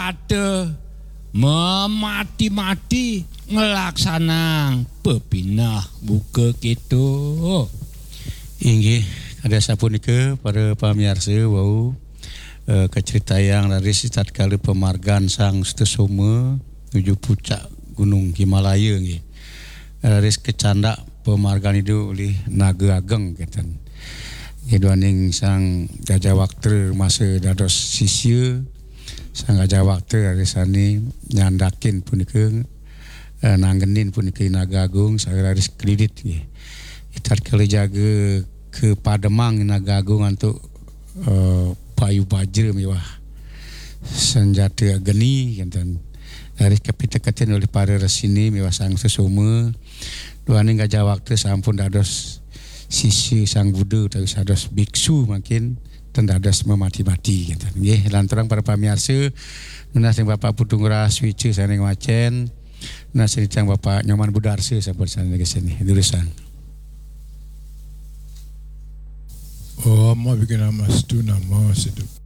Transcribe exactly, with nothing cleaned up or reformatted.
ada mamati-mati nglaksanang pepinah buka kéto. Inggih, kada sapunika para pamiarsa wau, eh, kacritayang raris tatkala pamargan Sang Sutasoma nuju pucak Gunung Himalaya nggih. Raris kacandak pamargan Ida olih Naga Ageng kénten. Nggih, duaning Sang Gajah Waktra masa dados sisya, Sang Gajah Waktra raris sané nyandakin punika, eh, nanggenin punika Naga Agung, saha raris kalilit nggih. Tatkala jaga ka pademang Naga Agung antuk, eh, bayu bajra miwah sanjata geni, kénten. Raris kapiteketin olih para resini miwah Sang Sutasoma. Duaning Gajah Waktra sampun dados sisya Sang Buddha utawi dados biksu mangkin ten dados mamati-mati, kénten. Nggih, lanturang para pamiarsa, nunas ring Bapak Putu Ngurah Suica sané ngwacén, nunas ring titiang Bapak Nyoman Budarsa sampun sané nggih sini. Durusang. Om Abhignamastu Namo Siddhu.